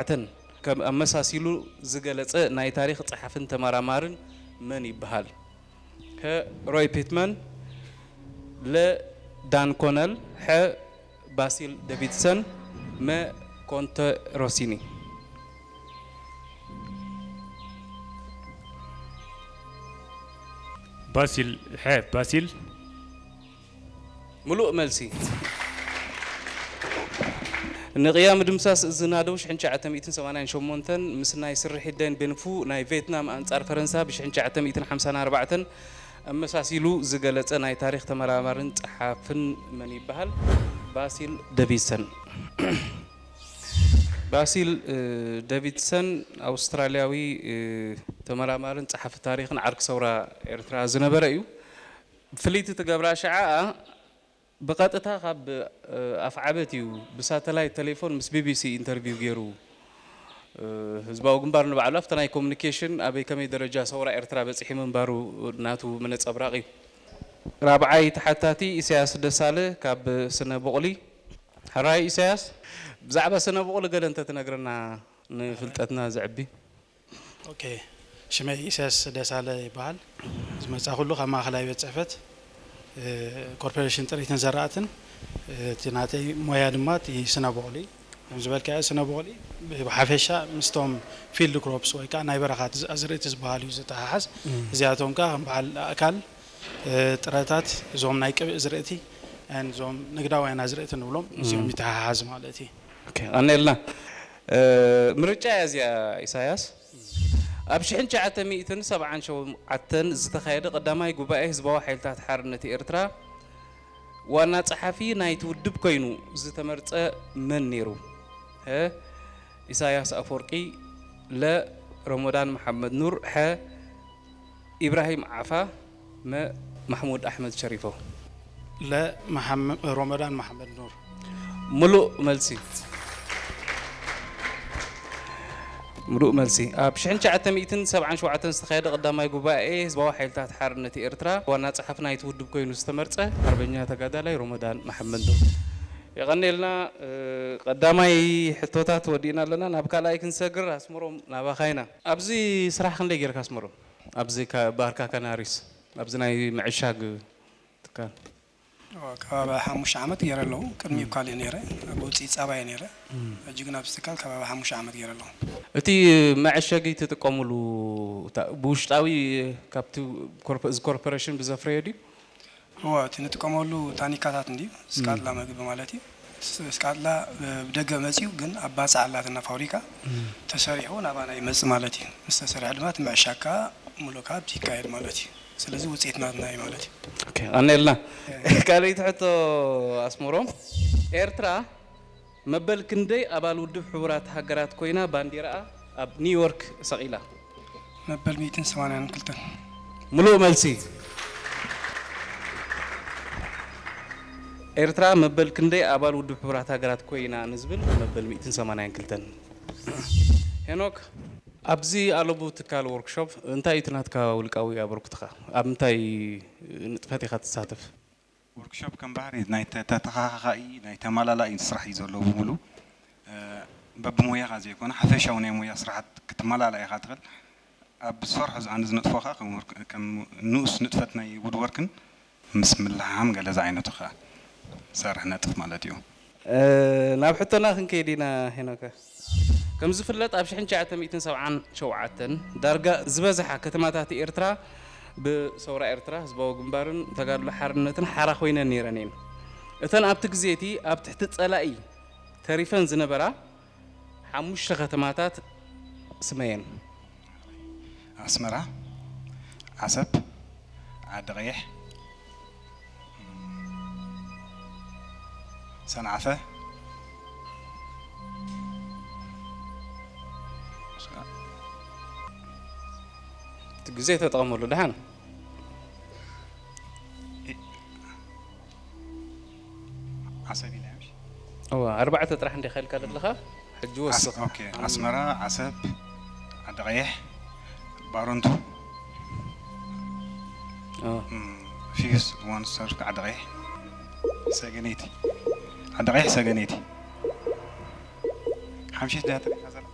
ኣተን ከም ኣመሳሲሉ ዝገለጸ ናይ ታሪኽ ጸሓፍን ተመራማርን መን ይበሃል? ከ ሮይ ፒትመን፣ ለ ዳን ኮነል፣ ሐ ባሲል ዴቪድሰን፣ መ ኮንተ ሮሲኒ። ባሲል ሐ ባሲል ምሉእ መልሲ። ንቅያ ምድምሳስ እዚ ናደው ሽሕን ትሽዓተ ሚእትን ሰማንያን ሸሞንተን ምስ ናይ ስርሒት ደን ቤንፉ ናይ ቬትናም ኣንጻር ፈረንሳ ብ ሽሕን ትሽዓተ ሚእትን ሓምሳን ኣርባዕተን ኣመሳሲሉ ዝገለጸ ናይ ታሪኽ ተመራማርን ጸሓፍን መን ይበሃል? ባሲል ደቪድሰን። ባሲል ደቪድሰን ኣውስትራልያዊ ተመራማርን ጸሓፊ ታሪኽን ዓርኪ ሰውራ ኤርትራ ዝነበረ እዩ። ፍልይቲ ትገብራ ሽዓኣ ብቐጥታ ካብ ኣፍዓበት እዩ ብሳተላይት ቴሌፎን ምስ ቢቢሲ ኢንተርቪው ገይሩ። ህዝባዊ ግንባር ንባዕሉ ኣብቲ ናይ ኮሙኒኬሽን ኣበይ ከመይ ደረጃ ሰውራ ኤርትራ በጺሒ ምንባሩ ናቱ መነጸብራቕ እዩ። ራብዓይ ተሓታቲ ኢሳያስ ደሳለ ካብ ስነ ቡቕሊ። ሕራይ ኢሳያስ፣ ብዛዕባ ስነ ቡቕሊ ገለ እንተትነግረና ንፍልጠትና ዘዕቢ። ኦኬ፣ ሽመይ ኢሳያስ ደሳለ ይበሃል። ዝመጻኹሉ ካብ ማእኸላይ ቤት ጽሕፈት ኮርፖሬሽን ጥሪትን ዘራእትን። እቲ ናተይ ሞያ ድማ እቲ ስነ ቡቕሊ። ከም ዝበልካዮ ስነ ቡቕሊ ብሓፈሻ ምስቶም ፊልድ ክሮፕስ ወይ ከዓ ናይ በረኻት ኣዝርእቲ ዝበሃሉ እዩ ዝተሓሓዝ። እዚኣቶም ከዓ ከም በዓል ኣእካል፣ ጥረታት፣ እዞም ናይ ቅብእ ዝርእቲ፣ እዞም ንግዳውያን ኣዝርእቲ ንብሎም እዚኦም ይተሓሓዝ ማለት እዩ። ቀኒልና። ምርጫ እያ እዚኣ ኢሳያስ። ኣብ ሽሕን ትሽዓተ ሚእትን ሰብዓን ሸውዓተን ዝተኻየደ ቀዳማይ ጉባኤ ህዝባዊ ሓይልታት ሓርነት ኤርትራ ዋና ጸሓፊ ናይቲ ውድብ ኮይኑ ዝተመርጸ መን ነይሩ? ሀ ኢሳያስ ኣፈወርቂ፣ ለ ረመዳን መሓመድ ኑር፣ ሐ ኢብራሂም ዓፋ፣ መ ማሕሙድ ኣሕመድ ሸሪፎ። ለ መሓመ- ረመዳን መሓመድ ኑር። ምሉእ መልሲ። ምሉእ መልሲ። ኣብ ሽሕን ትሽዓተ ሚእትን ሰብዓን ሸውዓተን ዝተኻየደ ቀዳማይ ጉባኤ ህዝባዊ ሓይልታት ሓርነት ኤርትራ ዋና ጸሓፊ ናይቲ ውድብ ኮይኑ ዝተመርጸ ሓርበኛ ተጋዳላይ ረመዳን መሓመድ ኑር። የቐኔልና። ቀዳማይ ሕቶታት ወዲእና ኣለና፣ ናብ ካልኣይ ክንሰግር። ኣስመሮም፣ ናባኻ ኢና። ኣብዚ ስራሕ ክንደይ ጌርካ ኣስመሮም? ኣብዚ ባርካ ካናሪስ ኣብዚ ናይ ምዕሻግ ትካል። ከባቢ ሓሙሽተ ዓመት ገይረ ኣለኹ። ቅድሚኡ ካልእ ነይረ፣ ኣብ ውፅኢት ፃባ እየ ነይረ። ሕጂ ግን ኣብዚ ትካል ከባቢ ሓሙሽተ ዓመት ገይረ ኣለኹ። እቲ መዐሸጊ ትጥቀሙሉ ብውሽጣዊ ካብቲ እዚ ኮርፖሬሽን ብዘፍረዮ ድዩ? እወ፣ እቲ ንጥቀመሉ ታኒካታት እንድዩ፣ ስቃጥላ መግቢ ማለት እዩ። ስቃጥላ ብደገ መፅዩ ግን ኣብ ባፅዕ ኣላትና ፋብሪካ ተሰሪሑ ናባና ይመፅእ ማለት እዩ። ምስ ተሰሪሐ ድማ እቲ ምዕሻግ ከዓ ሙሉእ ከዓ ኣብቲ ይካየድ ማለት እዩ። ስለዚ ውፅኢት ናትና እዩ ማለት እዩ። ቀኒልና። ካልኣይቲ ሕቶ ኣስመሮም፣ ኤርትራ መበል ክንደይ ኣባል ውድብ ሕቡራት ሃገራት ኮይና ባንዲራኣ ኣብ ኒውዮርክ ሰቒላ? መበል ሚእትን ሰማንያን ክልተን። ምሉእ መልሲ። ኤርትራ መበል ክንደይ ኣባል ውድብ ሕቡራት ሃገራት ኮይና ንዝብል መበል ሚእትን ሰማንያን ክልተን። ሄኖክ፣ ኣብዚ ኣለቡ ትካል ወርክሾፕ እንታይ እዩ እቲ ናትካ ውልቃዊ ኣበርክቶኻ? ኣብ ምንታይ ንጥፈት ኢኻ ትሳተፍ? ወርክሾፕ ከም ባህሪ ናይ ተተኻኻኢ ናይ ተመላላኢ ስራሕ እዩ ዘለዎ ብምሉ። በብሞያኻ ዘይኮነ ሓፈሻዊ ናይ ሞያ ስራሓት ክትመላላእ ኢኻ ትኽእል። ኣብ ዝሰርሖ ዝኣነ ዝነጥፎ ከዓ ከም ንኡስ ንጥፈት ናይ ውድወርክን ምስ ምልሕሃም ገለ ዝዓይነቱ ከዓ ሰርሕ ነጥፍ ማለት እዩ። ናብ ሕቶና ክንከይድ ኢና ሄኖከ። ከም ዝፍለጥ ኣብ ሽሕን ትሽዓተ ሚእትን ሰብዓን ሸውዓተን ዳርጋ ዝበዝሓ ከተማታት ኤርትራ ብሰውራ ኤርትራ ህዝባዊ ግንባርን ተጋድሎ ሓርነትን ሓራ ኮይነን ነይረን እየን። እተን ኣብቲ ግዜ እቲ ኣብ ትሕቲ ጸላኢ ተሪፈን ዝነበራ ሓሙሽተ ከተማታት ስመየን። ኣስመራ፣ ዓሰብ፣ ዓዲ ቀይሕ፣ ሰንዓፈ። እቲ ግዜ ተጠቐመሉ ደሓን። ዓሰብ ኢለ ምሽ እዋ ኣርባዕተ ጥራሕ እንዲኻ ኢልካ ዘለኻ። ሕጂ ወስኽ። ኦኬ፣ ኣስመራ፣ ዓሰብ፣ ዓዲ ቀይሕ፣ ባረንቱ፣ ኦ። ፊዩስ፣ ዋንስተር፣ ዓዲ ቀይሕ፣ ሰገነይቲ፣ ዓዲ ቀይሕ፣ ሰገነይቲ። ሓምሽት ድያ